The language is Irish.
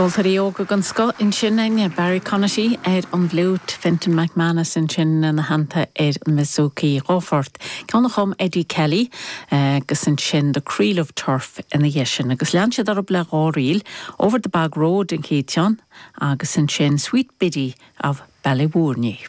Ceoltóirí óga den scoth ansin againne, Barry Conaty ar an bhfliúit, Fintan McManus ansin ina theannta ar an mbouzouki. Dhá phort, ceann a chum Eddie Kelly agus ansin The Creel of Turf ina dhiaidh sin. Agus lean siad orthu le dhá ríl, Over the Bog Road an chéad cheann agus ansin Sweet Biddy of Ballyvourney.